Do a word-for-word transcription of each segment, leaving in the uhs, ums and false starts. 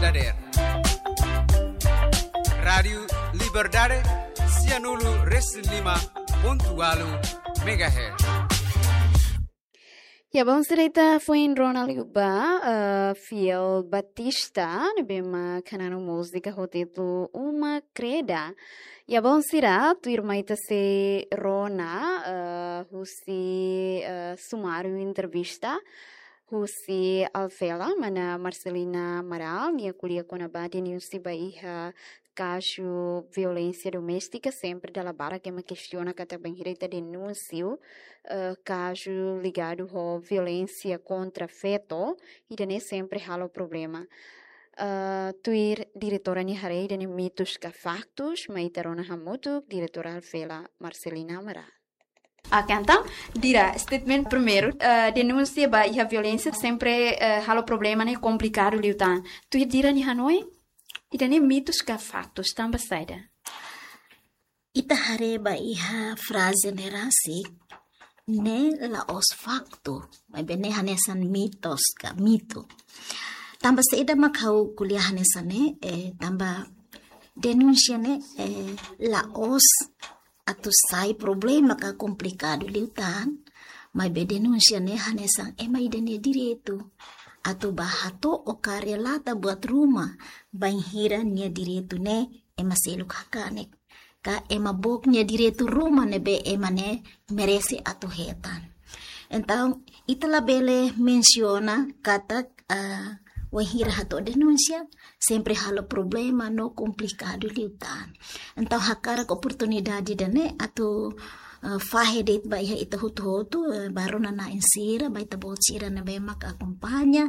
Dader. Rádiu Liberdade, sianulu resin lima pontu ualu megahertz. Ya, bom, sira, ita foin rona liu ba, eh, Fiel Batista, ne'ebé mak hananu múzika ho títulu Uma Kreda. Ya, bom, sira, tuirmai ita sei rona, eh, husi, eh, sumáriu entrevista husi Alvela, mana Marcelina Amaral, nia ko'alia kona-ba denúnsia ba iha kazu violénsia doméstika, sempre dala barak ema kestiona katak bainhira ita denunsia, eh, kazu ligadu ho violénsia kontra feto, ida-ne'e sempre halo problema. Eh, tuir diretora nia haree ida-ne'e mitus ka faktus, mai ita rona hamutuk, diretora Alvela Marcelina Amaral. Oke, entaun, Dira, statement primeiru, eh, denúnsia ba iha violénsia sempre, eh, halo problema ne'e komplikadu liután. Tuir Dira nia hanoin, ida-ne'e mitus ka faktus, tanba saida? Ita haree ba iha fraze ne'e rasik, ne'e la'ós faktu, maibé ne'e hanesan mitos ka mitu. Tanba saida mak ha'u ko'alia hanesan ne'e, eh, tanba denúnsia ne'e, eh, la'ós atu sai problema ka komplikadu liután, maibé denúnsia ne'e hanesan ema ida nia direitu atu bá hato'o ka relata buat ruma bainhira nia direitu ne'e ema seluk hakanek, ka ema book nia direitu ruma ne'ebé ema ne'e merese atu hetan. Entaun, ita labele mensiona katak, ah, wainhira hato'o denúnsia, sempre halo problema no komplikadu liután. Entaun, hakarak oportunidade ida-ne'e atu, ah, fahe de'it ba iha ita hotu-hotu, eh, ba rona-na'in sira, ba ita-boot sira ne'ebé mak akompaña,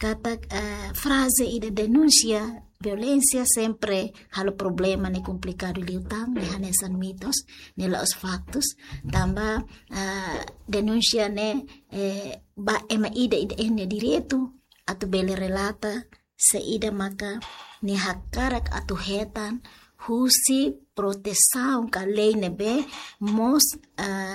katak, eh, fraze ida denúnsia violénsia sempre halo problema ne'e komplikadu liután, ne'e hanesan mitos, ne'e la'ós faktus, tanba, ah, denúnsia ne'e, eh, ba ema ida, ida-idak nia direitu atu bele relata saida maka nia hakarak atu hetan husi protesaun ka lei ne'ebé mós, ah,